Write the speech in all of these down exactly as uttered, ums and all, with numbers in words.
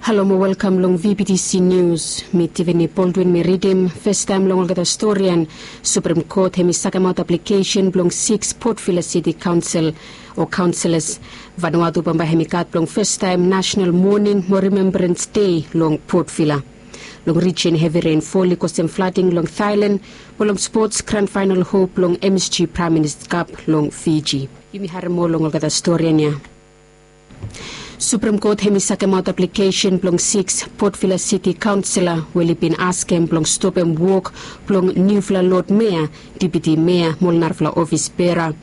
Halo mo welkam long V B T C Nius. Mi Tiffany Baldwin mi ridim. Festaem long olgeta storian, Suprem Kot hem i sakemaot aplikesen blong sikis Port Vila City Kaonsel o kaonselas. Vanuatu bambae hem i gat blong festaem nasenal moning mo rimembrans dei long Port Vila. Long rijin hevi renfol i kosem flading long Thailand, mo long spots gran faenal hop blong M S G Praem Minista Kap long Fiji. Yumi harem moa long olgeta storian ya. Suprem Kot hem i sakemaot aplikesen blong sikis Port Vila Siti kaonsela we oli bin askem blong stopem wok blong niufala lod mea, dipiti mea mo ol narafala ofis bera.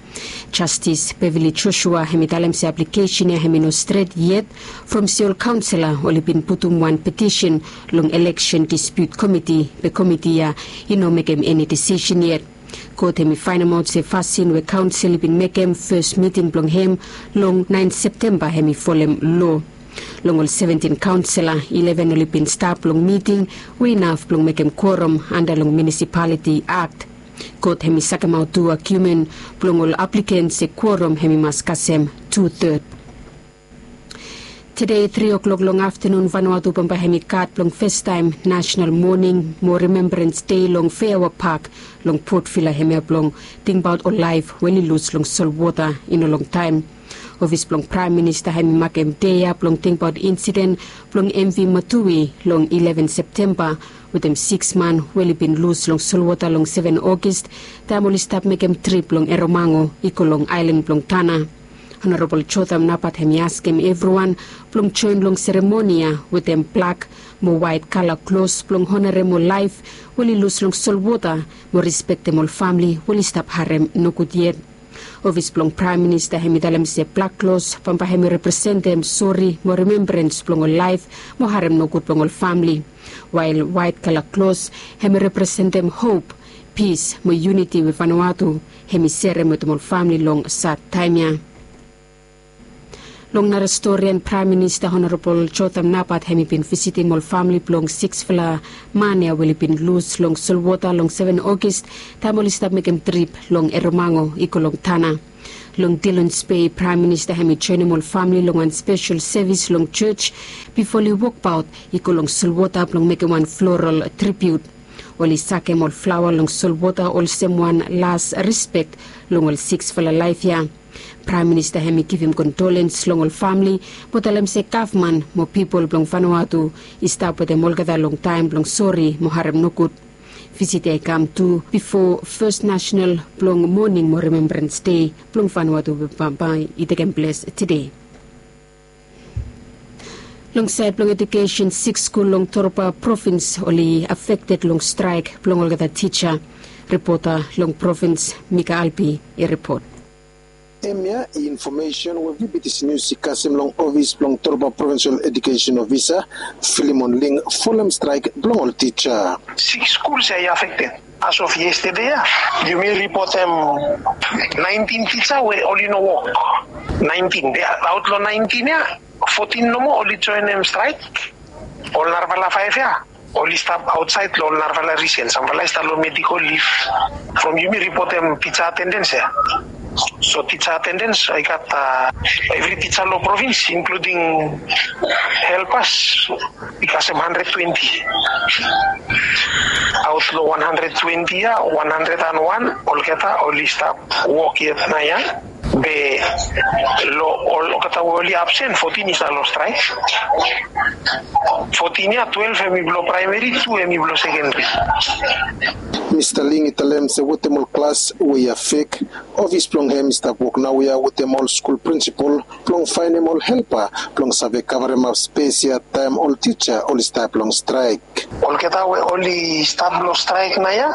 Jastis Beverly Joshua hem i talem se aplikesen ya hem i no stret yet, from se ol kaonsela oli bin putum wan petisen long Eleksen Dispiut Komiti, be komiti ya i no mekem eni disisen yet. Kot hem i faenemaot se fasin we kaonsel i bin mekem fes miting blong hem long naen Septemba hem i folem loa. Long ol seventin kaonsela, ileven oli bin stap long miting we inaf blong mekem kuorom anda long Munisipaliti Akt. Kot hem i sakemaot tu agiumen blong ol apliken se kuorom hem i mas kasem tu-ted. Tede tri o'klok long aftenun Vanuatu bambae hem i gat blong festaem nasenal moning mo rimembrans dei long Feaua Pak long Port Vila, hemia blong tingbaot ol laef we oli lus long solwota i no longtaem. Ofis blong Praem Minista hem i makem dei ya blong tingbaot insiden blong M V Matui long ileven Septemba wetem sikis man we oli bin lus long solwota long seven Ogis taem oli stap mekem trip long Eromango i go long aelan blong Tana. Honorabol Jotham Napat hem i askem evriwan blong joen long seremoni ya wetem blak mo waet kala klos blong honarem ol laef we oli lus long solwota mo rispektem ol famle we oli stap harem nogud yet. Ofis blong Praem Minista hem i talem se blak klos bambae hem i representem sori mo rimembrans blong ol laef mo harem nogud blong ol famle. Wael waet kala klos hem i representem hop, pis mo yuniti we Vanuatu hem i serem wetem ol famle long sad taem ya. Long nara storian, Praem Minista Honorabol Jotham Napat hem i bin visitim ol famle blong siksfala man ya we oli bin lus long solwota long seven Ogis taem oli stap mekem trip long Eromango i go long Tana. Long Dillon's Bay, Praem Minista hem i joenem ol famle long wan spesel sevis long jos bifo oli wokbaot i go long solwota blong mekem wan floral tribiut. Oli sakem ol flaoa long solwota olsem wan las rispek long ol siksfala laef ya. Praem Minista hem i givim kondolens long ol famle mo talem se gavman mo pipol blong Vanuatu i stap wetem olgeta long taem blong sori mo harem nogud. Visit ya i kam tu bifo fes nasenal blong moning mo rimembrans dei blong Vanuatu we bambae i tekem ples tede. Long saed blong ejukesen, sikis skul long Torba Provins oli afekted long straek blong olgeta tija. Ripota long provins, Mika Albi, i ripot. Hemia i infomesen we V B T C Nius i kasem long ofis blong Torba Provinsel Ejukesen Ofisa, Filimon Ling, folem straek blong ol tija. Sikis skul ya i afekted. As of yestede ya, yumi ripotem naentin tija we oli no wok. Naentin ya, aot long naentin ya, fotin nomo oli joenem straek. Ol narafala faef ya oli stap aotsaed long ol narafala risen. Samfala i stap long medikol lif. From yumi ripotem tija atendens ya. So tija atendens i gat, a, evri tija long provins, inkluding helpas, i kasem handred twenti. Aot long wan handred twenti ya, wan handred an wan olgeta oli stap wok yet naoia. Be long olgeta we oli absen, fotin i stap long straek. Fotin ya, twelef hem i blong praemeri, tu hem i blong sekenderi. Mista Ling i talem se wetem ol klas we i afek, ofis blong hem i stap wok naoia wetem ol skul prinsipol blong faenem ol helpa blong save kavremap spes ya taem ol tija oli stap long straek. Olgeta we oli stap long straek naoia,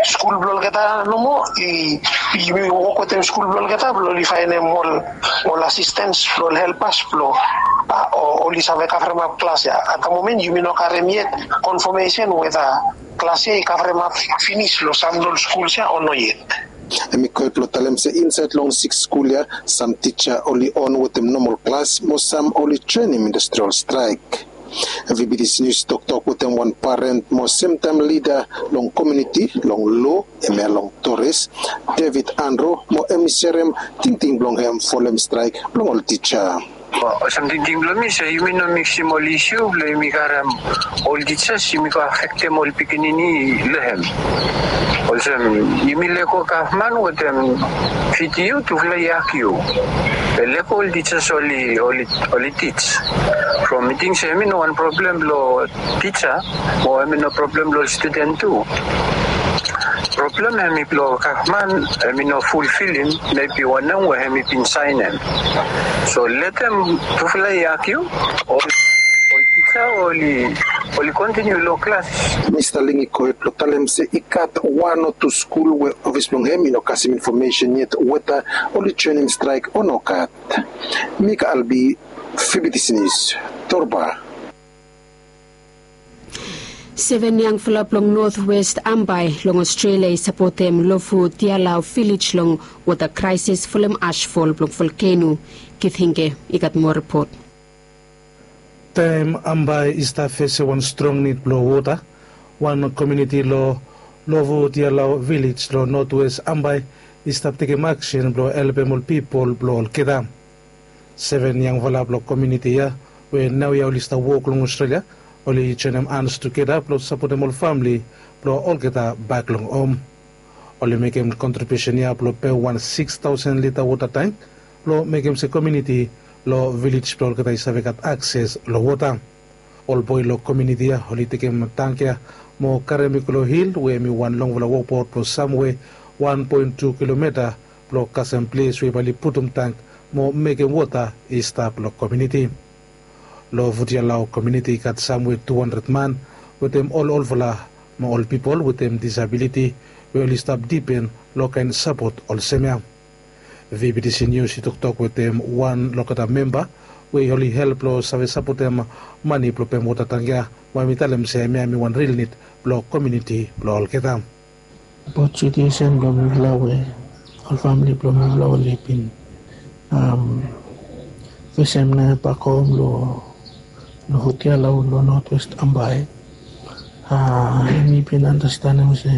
skul blong olgeta nomo, i, i, yumi wok wetem skul blong olgeta blong oli faenem ol, ol asistens blong ol helpas blong, a, o, oli save kavremap klas ya. At the moment yumi no karem yet konfamesen weta klas ya i kavremap finis long sam blong ol skuls ya o no yet. Hem i go hed blong talem se insaed long sikis skul ya, sam tija oli on wetem nomol klas mo sam oli joenem industrial straek. V B T C Nius i toktok wetem wan paren mo semtaem lida long komuniti long loa, hemia long Torres, David Andro, mo hem i serem tingting blong hem folem straek blong ol tija. Olsem tingting blong mi se yumi no miksim ol isiu blong yumi karem ol tijas yumi go afektem ol pikinini long hem. Olsem yumi lego gavman wetem P T U tufala i agiu. Be lego ol tijas oli oli oli tij. From mi ting se hemi no wan problem blong tija mo hemi no problem long ol studen tu. Problem hemi blong gavman hemi no fulfilim mebi wanem we hemi bin saenem. So letem tufala i agiu, ol ol tija oli oli kontiniu long klas. Mista Ling i go hed blong talem se i gat wan o tu skul we ofis blong hem i no kasem infomesen yet weta oli joenem straek o nogat. Mika Albi, V B T C News, Torba. Seven yangfala blong North West Ambae long Australia i sapotem Lovutialau Village long wota kraesis folem asfol blong volkeno. Kit Hinge i gat moa ripot. Taem Ambae i stap fesem wan strong nid blong wota, wan komuniti long Lovutialau Village long North West Ambae i stap tekem aksen blong helpem ol pipol blong olgeta. Seven yangfala blong komuniti ya we naoia oli stap wok long Australia oli joenem hans tugeta blong sapotem ol famle blong olgeta bak long hom. Oli mekem kontribiusen ya blong pem wan sikis taosen lita wota tank blong mekem se komuniti long vilej blong olgeta i save gat akses long wota. Ol boe long komuniti ya oli tekem tank ya mo karem i go long hil we hemi wan longfala wokbaot blong samwe wan poen tu kilometa blong kasem ples we bae oli putum tank mo mekem wota i stap long komuniti. Long Vutialau komuniti i gat samwe tu handred man wetem ol olfala mo ol pipol wetem disabiliti we oli stap dipen long kaen sapot olsem ya. V B T C Nius i toktok wetem wan long olgeta memba we oli help long save sapotem mane blong pem wota tank ya, we hemi talem se hemia hemi wan ril nid blong komuniti blong olgeta. Abaot situesen blong mifala we ol famili blong mifala oli bin fesem naoia bak hom long Vutialau long North West Ambae. Yumi bin andastanem se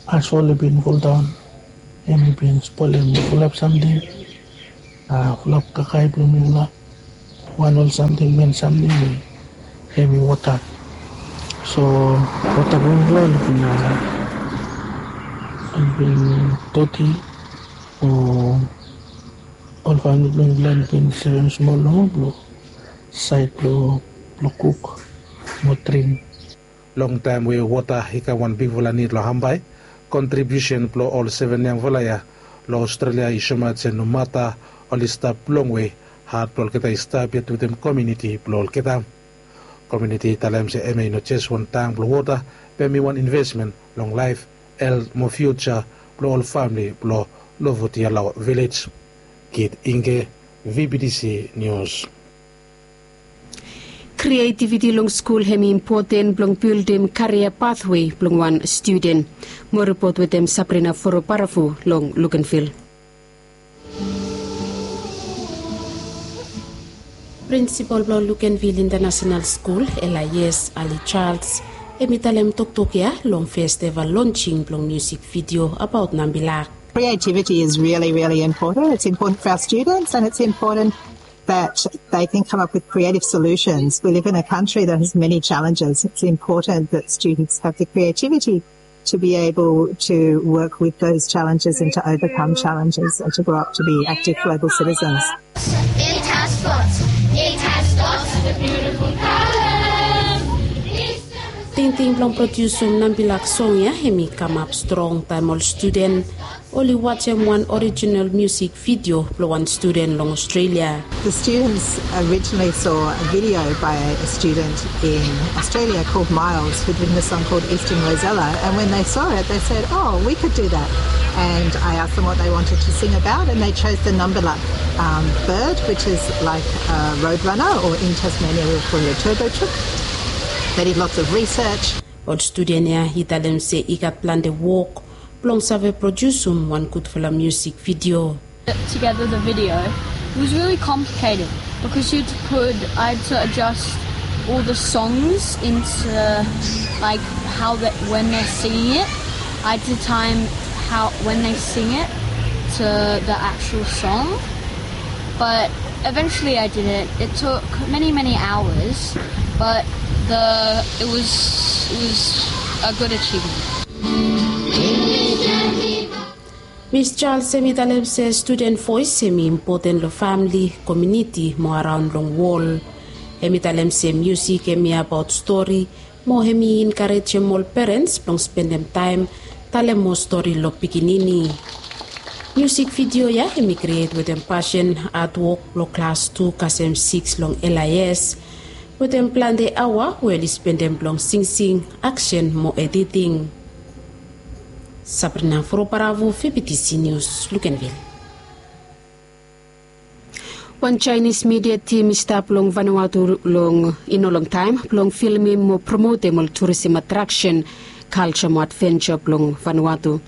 asfol i bin foldaon. Hemi bin spolem fulap samting, fulap kakae blong mifala. Wan ol samting, men samting hemi wota. So wota blong mifala oli bin oli bin doti. O ol famili blong mifala oli bin sevem smol nomo blong saed blong kuk mo dring. Long taem we wota i kam wan bigfala nid long Ambae, kontribiusen blong ol seven yangfala ya long Australia i soemaot se nomata oli stap longwe, hat blong olgeta i stap yet wetem komuniti blong olgeta. Komuniti i talem se hemia i no jes wan tang blong wota, be hemi wan invesmen long laef, helt mo fiuja blong ol famili blong Lovutialau Vilej. Kit Inge, V B T C Nius. Krietiviti long skul hemi impoten blong bildim karia pathwe blong wan studen. Moa ripot wetem Sabrina Foroparafo long Luganville. Prinsipol blong Luganville International School, Elias Ali Charles, hemi talem toktok ya long festival lonsing blong musik vidio abaot nambilak. Creativity is really, really important. It's important for our students and it's important that they can come up with creative solutions. We live in a country that has many challenges. It's important that students have the creativity to be able to work with those challenges and to overcome challenges and to grow up to be active global citizens. It has spots. It has spots with beautiful colors. Tingting blong prodiusum nambilak song ya hemi kamap strong taem ol studen oli wajem wan orijinal musik vidio blong wan studen long Australia. The students originally saw a video by a student in Australia called Miles, who'd written a song called Eastern Rosella. And when they saw it, they said, "Oh, we could do that." And I asked them what they wanted to sing about, and they chose the Nambilak um, bird, which is like a roadrunner, or in Tasmania we would call it a turbo chook. They did lots of research. Ol studen ya i talem se i gat plante wok blong save prodiusum wan gudfala musik vidio. Together the video, it was really complicated because you had to put, I had to adjust all the songs into, like, how that when they're singing it, I had to time how when they sing it to the actual song. But eventually I did it. It took many, many hours, but the it was it was a good achievement. Miss Charles hemi talem se studen voes hemi impoten long famili, komuniti mo araon long wol. Hemi talem se musik hemi abaot stori, mo hemi enkarejem ol perens blong spendem taem talem moa stori long pikinini. Musik vidio ya hemi kriet wetem pasen, atwok blong klas tu kasem sikis long L I S, wetem plante aoa we oli spendem blong singsing, aksen mo editing. Sabrina Foroparavo, V B T C News, Luganville. Wan Chinese media team i stap long Vanuatu long i no long taem blong filmim mo promotem ol tourism attraction, culture mo adventure blong Vanuatu.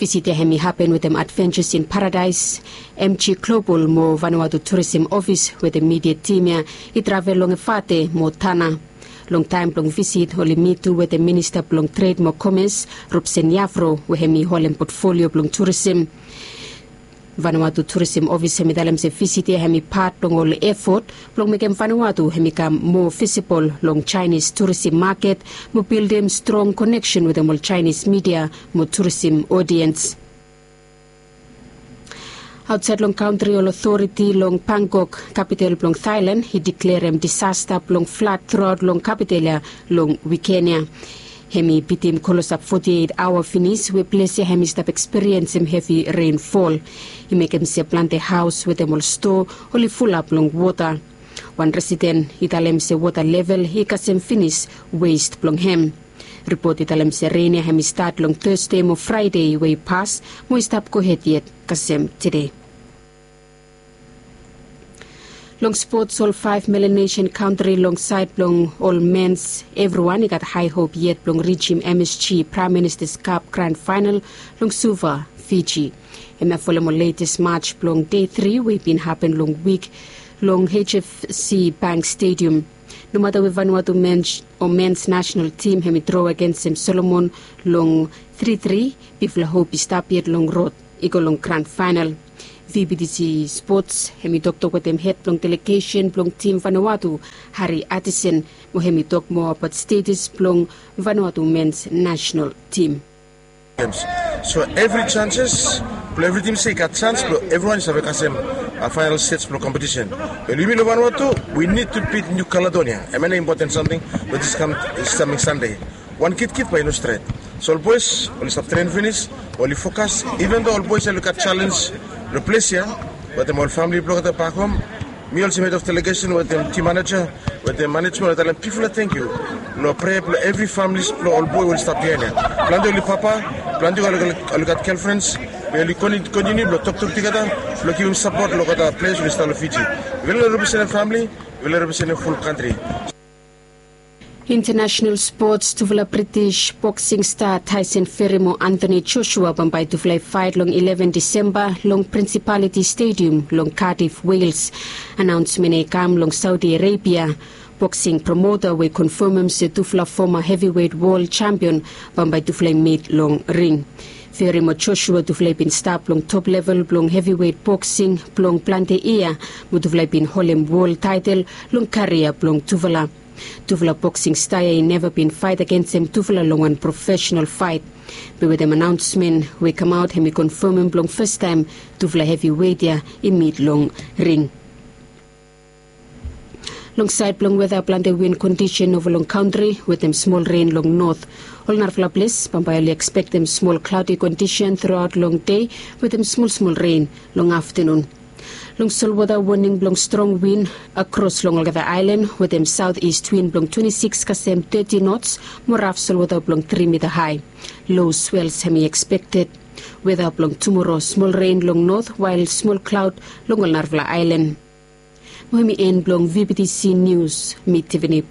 Visit ya hemi hapen wetem Adventures in Paradise, M G Global mo Vanuatu Tourism Office wetem media team ya i travel long Efate mo Tanna. Long taem blong visit oli mit tu wetem Minista blong Tred mo Komes, Robson Yavro, we hemi holem portfolio blong tourism. Vanuatu Tourism Office hemi talem se visit ya hemi pat blong ol efot blong mekem Vanuatu hemi kam moa visibol long Chinese tourism maket mo bildim strong koneksen wetem ol Chinese media mo tourism odiens. Aotsaed long kantri, ol otoriti long Bangkok, kapital blong Thailand, i deklarem disasta blong flad truaot long kapital ya long wiken ya. Hemi bitim klosap foti eit aoa finis we ples ya hemi stap ekspiriensem hevi renfol. I mekem se plante haos wetem ol stoa oli fulap long wota. Wan residen i talem se wota level i kasem finis west blong hem. Ripot i talem se ren ya hemi stat long Tasde mo Fraede we i pas mo i stap gohed yet kasem tede. Long spots, ol faef Melanesian kantri long saed blong ol mens, evriwan i gat hae hop yet blong rijim M S G Prime Minister's Cup grand final long Suva, Fiji. Hemia folem ol letes maj blong dei tri we i bin hapen long wik long H F C Bank Stadium. Nomata we Vanuatu mens o mens nasenal tim hemi dro agensem Solomon long tri tri, bigfala hop i stap yet long rod i go long grand final. V B T C Sports hemi toktok wetem hed blong delegesen blong tim Vanuatu, Harry Addison, mo hemi tok moa abaot status blong Vanuatu mens nasenal tim. So evri janses blong evri tim se i gat jans blong evriwan i save kasem final stage blong kompetisen. Wel, yumi long Vanuatu, we need to beat New Caledonia. Hemia nao impoten samting blong dis kam, dis kaming Sande. Wan kitkit bae i no stret. So ol boes oli stap tren finis, oli fokas, even though ol boes oli gat jalenj long ples ya wetem ol famili blong olgeta bak hom. Mi olsem hed of delegesen wetem tim maneja wetem manejmen, oli talem bigfala tangkiu long prea blong evri familis blong ol boe we oli stap biaen ya. Plante oli papa, plante oli gat gelfrens, be oli kontiniu blong toktok tugeta blong givim sapot long olgeta pleas we oli stap long Fiji. Yufala representem famili, yufala representem ful kantri. International sports, tufala British boxing star Tyson Fury mo Anthony Joshua bambae tufala i faet long eleven Disemba long Principality Stadium long Cardiff, Wales. Anaonsmen ya i kam long Saudi Arabia boxing promota we i konfamem se tufala foma heavyweight world champion bambae tufala i mit long ring. Fury mo Joshua tufala i bin stap long top level blong heavyweight boxing blong plante yia, mo tufala i bin holem world taetel long karia blong tufala. Tufala boksing sta ya i neva bin faet agensem tufala long wan profesenal faet. Be wetem anaonsmen we i kamaot, hemi konfamem blong fastaem tufala heviwet ya i mit long ring. Long saed blong weta, plante win kondisen ova long kantri wetem smol ren long not. Ol narafala ples bambae oli ekspektem smol klaodi kondisen truaot long dei wetem smol smol ren long aftanun. Long solwota, woning blong strong win akros long olgeta aelan wetem saotis win blong twenti sikis kasem teti nots mo raf solwota blong tri mita hae. Lo swels hemi ekspekted. Weta blong tumora, smol ren long not wael smol klaod long ol narafala aelan. Mo hemi en blong VBTC Nius. Mi Tiffany